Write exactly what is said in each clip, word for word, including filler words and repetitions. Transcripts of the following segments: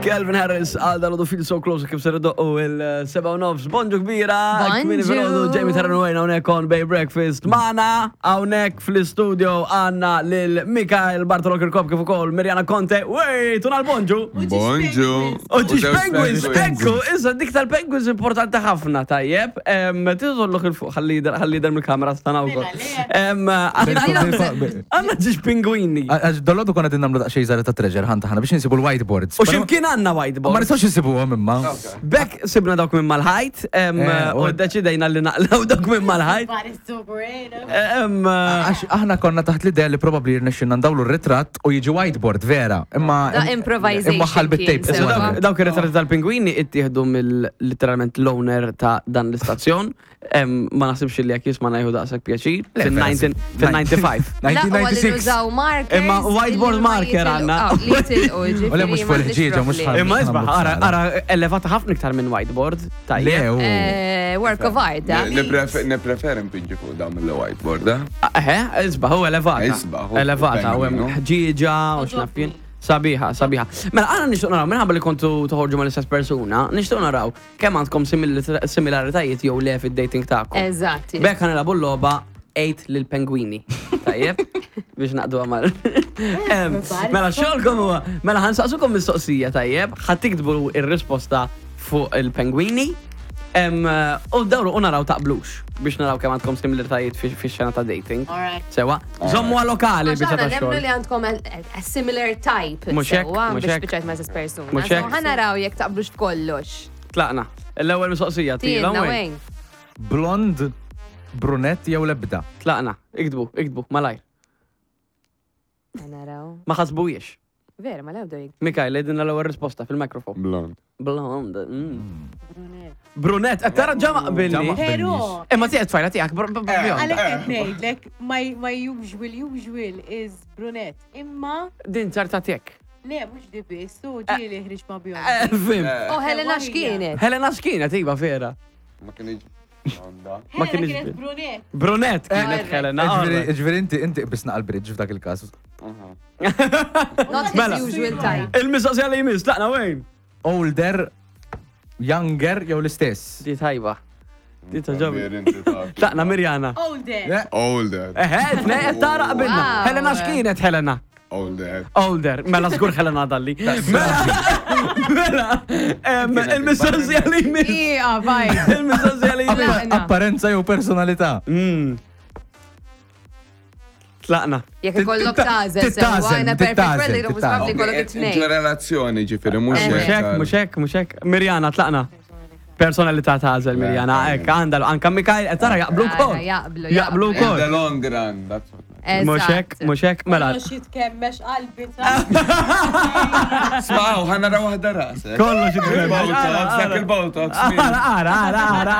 Calvin Harris għal dal Feel So Close kif ser u il-seba u nofs. Bonġu kbira! Bonġu. Kmieni filgħodu, Jamie Tarran Wayne hawnhekk on Bay Breakfast. Magħna hawnhekk fl-istudio għandna lil Mikael Bartolo Kirkop kif ukoll Mirjana Conte. Wey, tunal bonġu! Bonġu. U ġiġ penguins, ekku, issa dik tal-penguins importanti ħafna, tajjeb. Tiżolluħ il-fuq, ħalli jidher mill-kamera stana wkoll. Għandna ġiġ pingwini. Għax dolodu konna din namlu daqxej zaħra ta' treasure hunt aħna biex nsibu l-whiteboards. U ximkien għandna whiteboard. Ma nistgħux nsibuhom imma. Bekk sibna dawk minn mal-ħajt, em, Eh, u u- deċidejna li naqlaw dawk minn mal-ħajt. Everybody's so creative. Em, Għax aħna konna taħt l-idea li probabli jirnexxinna ndawlu r-ritratt u jiġi whiteboard vera. Imma Da improvisation Imma ħal bit-tape. kien, so sewa. dawk dawk ir-ritratti tal-pingwini ittieħdu mill literalment l-owner ta' dan l-istazzjon. Em, Ma naħsibx li jekk jisma' jieħu daqshekk pjaċir. Le, vera, Fil-ninety-five. La, u għalli nineteen ninety-six. nużaw markers. Imma whiteboard illi ma marker jitilqu- għandna. Ah, li jitilqu, U le, mhux ġifieri, fuq m'għandix il-ħġieġa, mhux problemi. ħal- Imma isbaħ, ara, Nagħmlu ara, elevata ħafna iktar minn whiteboard. Le, Tajjeb. u. Eh, Work of art, da. Nipreferi npinġi fuq dam il-whiteboard, eh? Eħe, isbaħ, u elevata. Isbaħ, u Elevata, u hemm pengwinu. ħġieġa u x'naf jien. Sabiħa, sabiħa. Mela, għana nixtuq naraw, minħabba li kontu toħorġu mal-istess persuna, nixtuq naraw kemm għandkom simil- similaritajiet jew le fid-dating tagħkom. Eżatt. Bekk ħa nilagħbu l-logħba eight lil pengwini. Tajjeb? Biex naqdu għamal. Em, Mela, xogħolkom huwa, mela ħa nsaqsukom mistoqsija, tajjeb, ħa tiktbu ir-risposta fuq il-pengwini. Em, U dawru u naraw taqblux biex naraw kemm għandkom similaritajiet fi xena ta' dating. Alright. Sewa, żommu lokali Għax biex aħna ta' nemmnu xogħol. li għandkom a a similar type. Mhux hekk, sewwa, mhux biex hekk. spiċċajt ma' stess persuna. Mhux So, hekk. ħa naraw jekk taqblux f'kollox. Tlaqna. L-ewwel mistoqsija Tienna tila wejn. wejn. Blond, brunet jew lebda. Tlaqna. Iktbu, iktbu, malajr. Ħa naraw. Ma ħasbujiex. Vera, ma lewdu jek. Mikael, għidilna l-ewwel risposta fil-mikrofon. Blond. Blond. mm. Brunet, qed tara ġama qbilni. Ġama. Pero, Imma tiegħek tfajla tiegħek br- br- bjonda. għalek qed ngħidlek, my, my usual usual is brunette. Imma, Din ċarta tiegħek. le, mhux di biss, u ġieli ħriġ ma' bjond. Eh, Fim. Oh, Helena x'kienet? Helena x'kienet iva vera. Ma kienx blonda. Ma Helena kienx kienet bi- brunette. Brunet kienet Eh, Helena. Ġifieri alright. ġifieri inti inti qbisna għal-bridge f'dak il-każ. Not his Mela. usual type. Il-mistoqsija li jmiss, tlaqna wejn. Older, younger jew l-istess. Di tajba. Di taġobi. Tlaqna Mirjana. Older. Older. Eħe, tnej qed tara qbilna. Wow. Helena x'kienet Helena? Older. Older, mela żgur Helena dalli. Mela, mela, em, il-mistoqsija li jmiss. Ija, vaj. Il-mistoqsija li jmiss. Tlaqna. Apparenza jew personalità. Mm. Tlaqna. Jekk ikollok tażel, sewwa, Tittażel, in a perfect tittażel, world, jekk tittażel. probably ikollok it-tnejn. Ġo relazzjoni ġifiri, mux Eh. Mhux hekk, mhux hekk, mhux hekk. Mirjana, tlaqna. Personalità tażel Mirjana, hekk għandha anka Mikael, qed tara jaqblu wkoll. Ara, jaqblu, Jaqblu jaqblu. In the wkoll. long run, that's what. Mhux hekk, Eżatt. mhux hekk, mela. Kollox jitkemmex qalbi ta' Smaw, ħa nara waħda rasek. Kollox jitkemmex. Il-Botox, dak il-Botox. Ara, ara, ara, ara,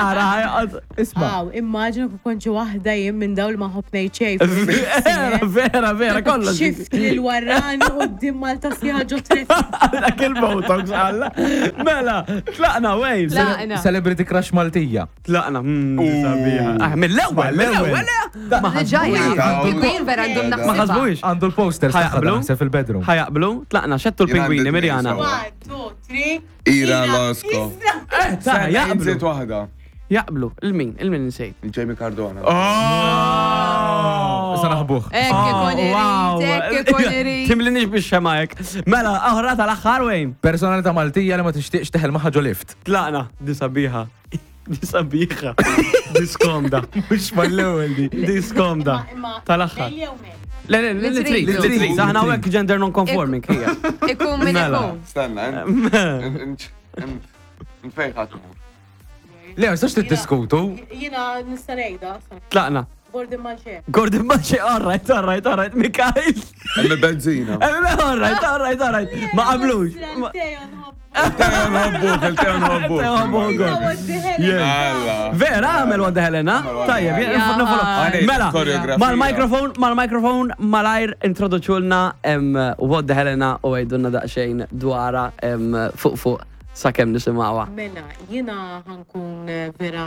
ara. Isma. Aw, immaġinu kif konċi waħda jien minn dawl ma ħobnej ċej. Vera, vera, vera, kollox. Xift li l-warrani qudiem Malta sieħa ġo traffic. Dak il-Botox, għalla. Mela, tlaqna, wejn. Tlaqna. Celebrity crush Maltija. Tlaqna, mm, sabiħa. Ah, mill-ewwel, mill-ewwel. Ma Diġà ħasbuhiex. jaqblu. Il-queen vera għandhom Ma Ma naħsibha. ħasbuhiex. Għandu l-posters tagħha Ħajaqblu? naħseb fil-bedroom. Ħajaqblu, tlaqna, xettu l-pingwini, Jien għandi Mirjana. tnejn One, two, three. Ira Losco. Eh, ta' jaqblu. Nżid waħda. Jaqblu, il-min, il-min nsejt. Jamie Cardona. Oh! Issa naħbuh. Ekk ikun irid, ekk ikun irid. Timlinix biex xemajk. Mela, oħra tal-aħħar wejn. Personalità Maltija li ma tixtieqx teħel magħha ġo lift. Tlaqna, di sabiħa. Di sabiħa. Di skomda. Mhux mal-ewwel di. Di skomda. Imma Tal-aħħar. Lejl jew mel? Le, le, le, li trid, li trid. Aħna hawnhekk gender non-conforming hija. Ikun min Mela. ikun. Stenna, nfejn ħatmur. Le, ma nistax tiddiskutu. Jiena nista' ngħidha. Tlaqna. Gordon Manche. Gordon Manche, all right, all right, all right, Mikael. Emmi benzina. Eh, All right, all right, all right. Ma qablux. Ma- Teo nħobbu. Il-teo nħobbuk, il-teo nħobbuk. Teo nħobbuk. Alla. Vera, għamel għadda Helena. Tajjeb, Ja. jien Mela, Koreografija. mal-mikrofon, mal-mikrofon, malajr introduċulna em, What the Helena u għajdunna daqxejn dwara em, fuq fuq sakemm nisimgħuha. Mela, jiena ħa nkun eh, vera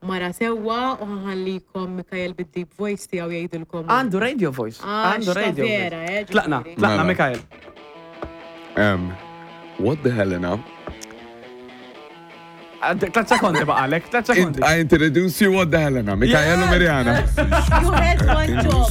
mara sewwa u ħa nħallikom Mikael bid-deep voice tiegħu jgħidilkom. Għandu radio voice. Ah, Għandu xta radio vera, voice. eh, Tlaqna, ġifieri. tlaqna Mela. Mikael. Em, What the Helena? Tlet sekondi baqalek, tlet sekondi. I introduce you what the Helena, Mikael u Mirjana. You had one job.